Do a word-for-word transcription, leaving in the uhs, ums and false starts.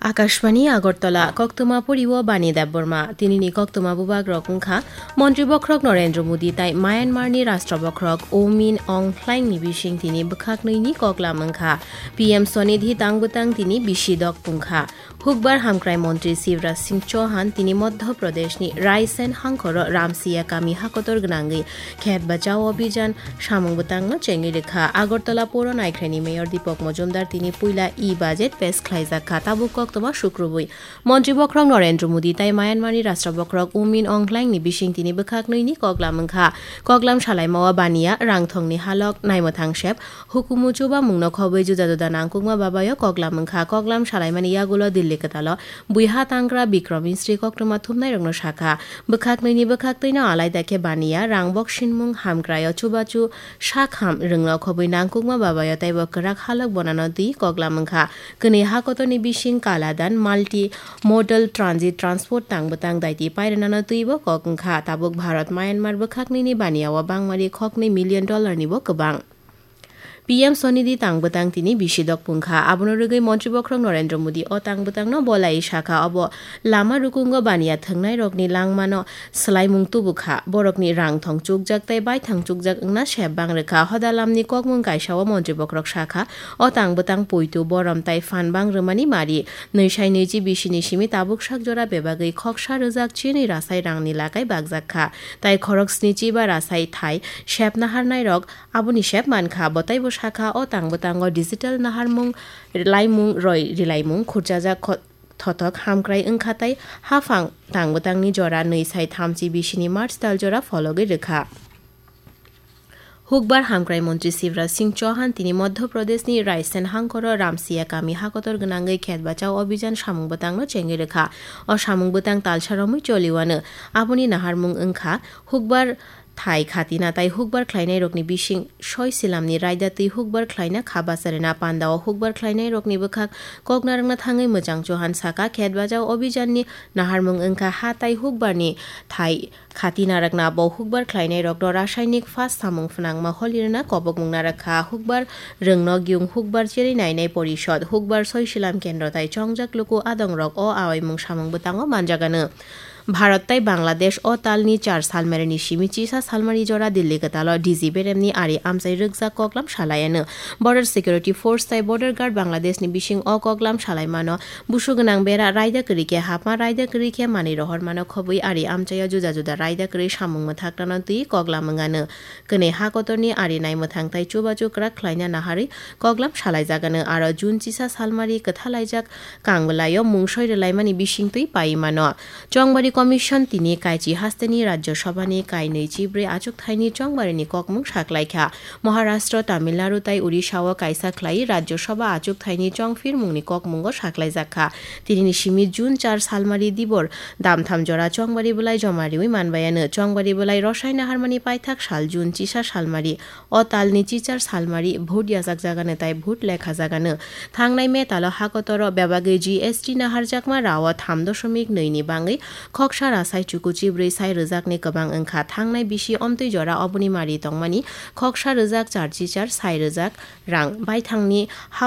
Akashbani Agartala, koktwma poriwo Bani Debbarma. Tinini koktwma bubagrok wngkha Montri Bokhorok Narendra Modi tai Myanmarni Rashtra Bokhorok U Min Aung Hlaingni bising tini bwkhak nwi ni koklam wngkha. P M Swanidhi tang bwtang tini bisi dok pungkha. Hukbar Hamkrai Montri Shivraj Singh Chauhan tini Madhya Pradeshni Raisen hangkhoro Ramsiya kami hakotor gwnangwi Khet Bachao Abhijan samung bwtangno chengwi rwkha. Agartala Poro Naikhraini Mayor Deepak Majumdar tini puila e-budget pes khlaijak kha. Tabuk koktwma sukrubwi Montri Bokhorok Narendra Modi tai Myanmarni Rashtra Bokhorok U Min Aung Hlaingni bising tini bwkhak nwi ni koklam wngkha. Koklam salaimao Baniya, rangthongni halok, naimwthang sep, hukumu chubamungno khobwi juda juda nangkukma babayo koklam wngkha. Koklam salaimani yagulo Delhi kwtalo buiha tangra Bikram Misri koktwma thumnairokno sakha. Bwkhak nwini bwkhak twino alaida khe Baniya, rang boksinmung, hamkraio chubachu, sak ham rwngno khobwi nangkukma babayo teibo kwrak halok bonano twi koklam wngkha. Kwnwi hakotorni bising Kaladan multi modal transit transport tang bwtang daiti pairwnano twibo kok wngkha. Tabuk Bharat Myanmar bwkhak nini Baniyao bangmari khoknwi million dollar nibo kwbang. P M Swanidhi tang bwtang tini bisi dok pungkha. Abono rwgwi Montri Bokhorok Narendra Modi o tang bwtangno bolai sakha, obo lama rukungo Baniya thwngnairokni langmano swlaimung tubukha. Borokni rangthong chukjak tei baithang chukjak wngna sep bang rwkha. Hoda lamni kokmung kaisao Montri Bokhorok sakha, o tang bwtang poito, borom tai phan bang rwmani mari. Nwi sai nwichi bisini simi tabuk sak jora bebagwi khoksa rwjak chinwi rasai rangni lakai bakjak kha. Tai khorok snichi ba rasai thai sep naharnairok aboni sep mankha. Bo taibo sakha, o tang bwtango digital naharmung, laimung, roi rilaimung, khurchajak kho-, thothok hamkrai wngkha tai haphang tang bwtangni jora nwi sai thamchi bisini March tal jora phologwi rwkha. Hukbar Hamkrai Montri Shivraj Singh Chauhan tini Madhya Pradeshni Raisen hangkhoro Ramsiya kami hakotor gwnangwi Khet Bachao Abhijan samung bwtangno chengwi rwkha. O samung bwtang talsa romwi choliwano. Aboni naharmung wngkha Hukbar thai khatina tai hukbar khlainairokni bising soi silamni raida twi hukbar khlaina kha bacharina. Pandao hukbar khlainairokni bwkhak koknarwkna thangwi Mwchang Chauhan sakha, Khet Bachao Abhijanni naharmung wngkha ha tai hukbarni thai khatina rwkna. Bo hukbar khlainairokno rasainik phas samung phnangma holi rwna kobokmung narwkha. Hukbar rwngno giyung hukbar cherwi nainai porishod, hukbar soi silam kendro tai chongjak luku adongrok o awaimung samung bwtango manjagano. Bharat tai Bangladesh o talni char salmarini simi chisa salmari jora Delhi kwtalo D G beremni ari amchai rwkjak koklam salayano. Border Security Force tai Border Guard Bangladeshni bising o koklam salaimano busu gwnang bera raida kwrwi khe hapma raida kwrwi khe manwi rohormano khobwi ari amchaio juda juda raida kwrwi samung mwthaknano twi koklam wngano. Kwnwi hakotorni ari naimwthang tai chubachu kwrak khlaina naharwi koklam salaijagano. Aro June chisa salmari kwthalaijak kangwlaio mungsoi rwlaimani bisingtwi paiwi mano. Chongbari Commission tini kaichi hasteni Rajya Sabhani kainwi chibrwi achukthaini chongbarini kokmung saklaikha. Maharashtra, Tamil Nadu tai Odisha-o kaisa khlaiwi Rajya Sabha achukthaini chongphirmungni kokmungo saklaijakha. Tinini simi June char salmari dibor damtham jora chongbari bwlai joma riwi manbayano. Chongbari bwlai rwsai naharmani paithak sal June chisa salmari. O talni chichar salmari vote yachakjagano tai vote lekhajagano. Thangnai May talo hakotoro bebagwi G S T naharjakma rao tham doshomik nwi ni bangwi khoksa rasai chuku chibrwi sai rwjakni kwbang wngkha. Thangnai bisi omtwi jora oboni mari tongmani khoksa rwjak char chichar sai rwjak rang baithangni hao